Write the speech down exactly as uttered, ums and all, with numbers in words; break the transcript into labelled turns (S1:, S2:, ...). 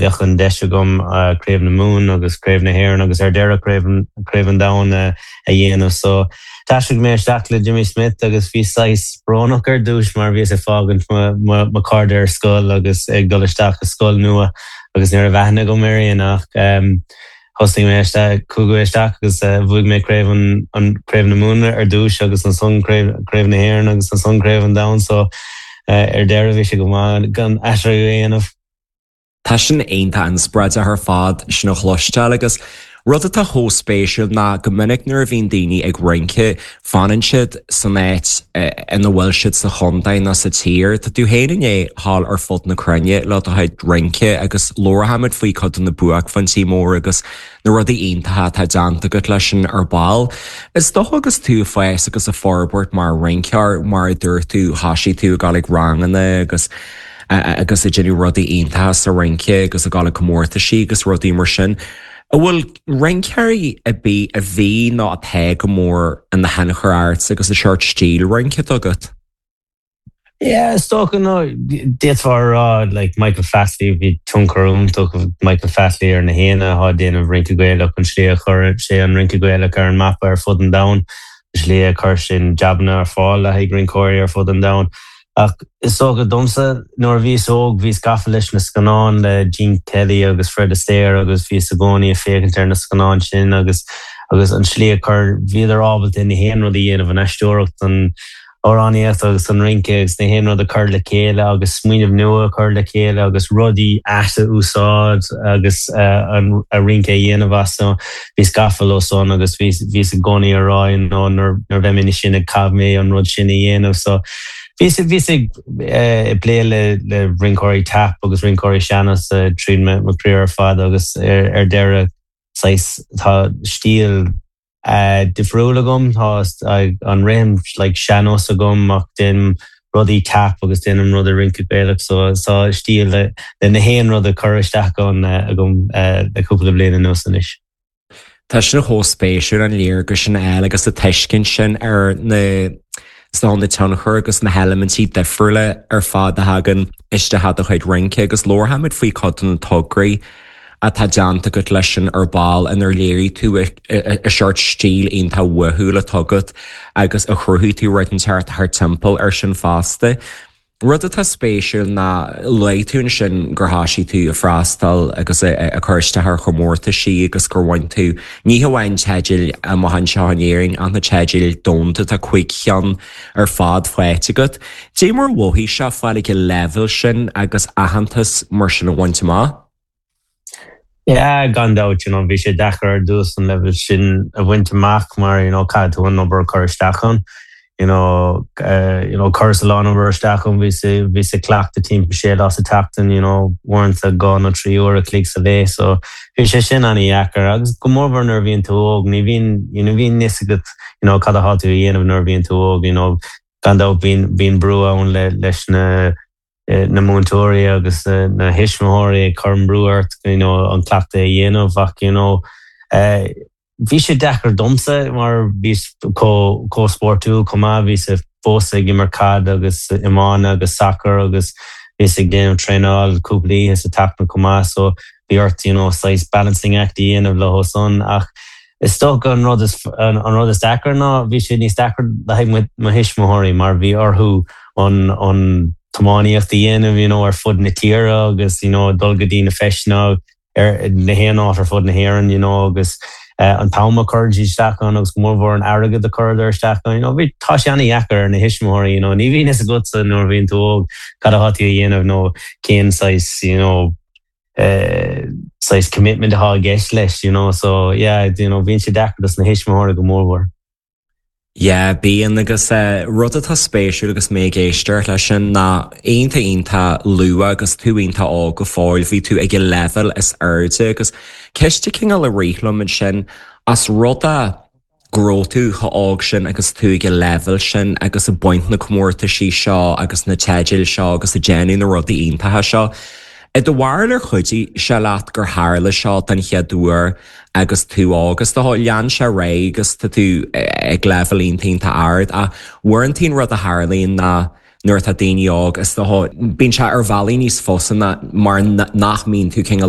S1: Bheadh an deis agam Craobh na Mumhan agus Craobh na hÉireann agus ar deireadh Craobh an Domhain a dhéanamh. So d'aistrigh mé isteach le Jimmy Smith agus bhí saghas brónach ar dtús mar bhíos ag fágaint mo chairde ar scoil agus ag dul isteach i scoil nua agus ní raibh aithne agam ar éinne ach thosaigh mé chuaigh isteach agus bhuaigh mé craobh an Craobh na Mumhan ar dtús agus ansan Craobh na hÉireann agus ansan Craobh an Domhain so ar deireadh bhí sé go maith gan aistriú a dhéanamh.
S2: Tá sin iontach inspioráideach ar fad sin a chloisteáil agus rud atá chomh spéisiúil ná go minic nuair a bhíonn daoine ag rince fanann siad san áit ina bhfuil siad sa chontae nó sa tír. Tá tú féin i ndiaidh a ghabháil ar fud na cruinne le do chuid rince agus labharfaimid faoi cuid de na buaicphointí mór agus na rudaí iontacha atá déanta agat leis sin ar ball. Is dócha agus tú ag fás agus ag forbairt mar rinceoir mar a dúirt tú thosaigh tú ag dul ag ranganna agus agus ag déanamh rudaí iontacha sa rince agus ag dul ag comórtaisí agus rudaí mar sin. An bhfuil rinceoirí ar bith a bhí nó atá go mór ina thionchar ort agus a seort stíl rince agat?
S1: Yeah, is dócha no d'fhéadfá rá like Michael Flatley bhí tionchar iontach Michael Flatley ar na héinne atá ag déanamh rince Gaelach an slí a chuir sé an rince Gaelach ar an mapa ar fud an domhain, slí a chuir sin jabanna ar fáil le haghaidh rinceoirí ar fud an domhain. Ach is dócha domsa nuair a bhíos óg bhíos gafa leis na scannáin le Gene Kelly agus Fred Astaire agus bhíos i gcónaí ag féachaint ar na scannáin sin agus agus an slí a chuir bhíodar ábalta na haon rud a dhéanamh an aisteoireacht an amhránaíocht agus an rince agus na haon rud a chur le chéile agus smaoineamh nua a chur le chéile agus rudaí as a úsáid agus an a rince a dhéanamh as so bhíos gafa leo san agus bhíos bhíos i gcónaí ag rá nó nuair nuair bheidh mé sin ag caithfidh mé an rud sin a dhéanamh so bhíos bhíos ag plé le le rinceoirí tap agus rinceoirí sean-nós tríd mo career ar fad agus ar ar deireadh saghas tá stíl uh, difriúil agam tá an rithim like sean-nós agam ach déanaim rudaí tap agus déanaim rudaí rince Gaelach so tá stíl le le na haon rud a chur isteach ann agam le cúpla bliain anuas anois.
S2: Tá sin chomh spéisiúil an léargas sin eile agus a tuiscint sin ar na ná na tionchar agus na heilimintí difriúla ar fad a thagann isteach do chuid rince agus labharfaimid faoi chuid de na tograí atá déanta agat leis sin ar ball inar léirigh tú a seort stíl iontach uathúil atá agat agus a chruthaigh tú rud inteacht thar timpeall ar sin fosta. Rud atá spéisiúil ná luaigh tú ansin gur thosaigh tú ag freastal agus ag cur isteach ar chomórtaisí agus gur bhain tú ní hamháin teidil amach anseo in Éirinn ach na teidil domhanda tá cúig cheann ar fad faighte agat. Dé mar mhothaigh sé fáil ag an leibhéal sin agus aitheantas mar sin a bhaint amach?
S1: Yeah, gan dabht you know, bhí sé deacair ar dtús an level sin a bhaint amach mar you know, caithfidh tú an obair chur isteach ann. You know, uh, you know, chuireas a lán obair isteach ann bhí bhí ag cleachtadh timpeall sé lá sa tseachtain, you know, uaireanta dhá nó trí uair a chloig sa lá, so bhí sé sin an-deacair agus go mórmhór nuair a bhíonn tú óg, ní bhíonn you know, bhíonn níos agat you know, cad atá tú a dhéanamh nuair a bhíonn tú óg, you know, gan dabht bíonn bíonn brú ann le leis na na múinteoirí agus na tuismitheoirí ag cur brú ort you know, an cleachtadh a dhéanamh ach you know, uh, bhí sé deacair domsa mar bhíos chomh spórtúil chomh maith bhíos fós ag imirt caid agus iomána agus sacar agus bhíos ag déanamh traenáil cúpla oíche sa tseachtain chomh maith so bhí ort you know, saghas balancing act a dhéanamh le san ach is dócha an rud is an, an rud is deacair ná bhí sé níos deacair le haghaidh mo thuismitheoirí mar bhí orthu an an tiománaíocht a dhéanamh you know, ar fud na tíre agus you know, dul go dtí na feiseanna ar na haon áit ar fud na hÉireann you know, agus uh, an t-am a chuir isteach ann agus mórmhór an airgead a chuireadar isteach ann you know, bhí tá sé an-deacair ar na tuismitheoirí you know, ní bhíonn fhios agatsa nuair bhíonn tú óg cad atá tú a dhéanamh nó cén saghas you know, uh, saghas commitment atá i gceist leis you know, so yeah, you know, bhíonn sé deacair dos na tuismitheoirí go mórmhór.
S2: Yeah, bíonn agus uh, rud atá spéisiúil agus mé ag éisteacht leis sin ná iontach iontach luath agus tú iontach óg go fóill bhí tú ag an level is airde agus ceist cineál a rith liom sin as rud é go raibh tú chomh hóg sin agus tú ag an level sin agus ag baint na comórtaisí seo agus na teidil seo agus ag déanamh na rudaí iontacha seo. I do bharúil ar chuidigh sé leat gur tharla seo den chéad uair agus tú agus tá lean sé ré agus tá tú ag level iontach ard a uaireanta an rud a tharlaíonn ná nuair atá daoine óg is bíonn sé ar bhealaí níos fusa ná mar nach mbíonn tú cineál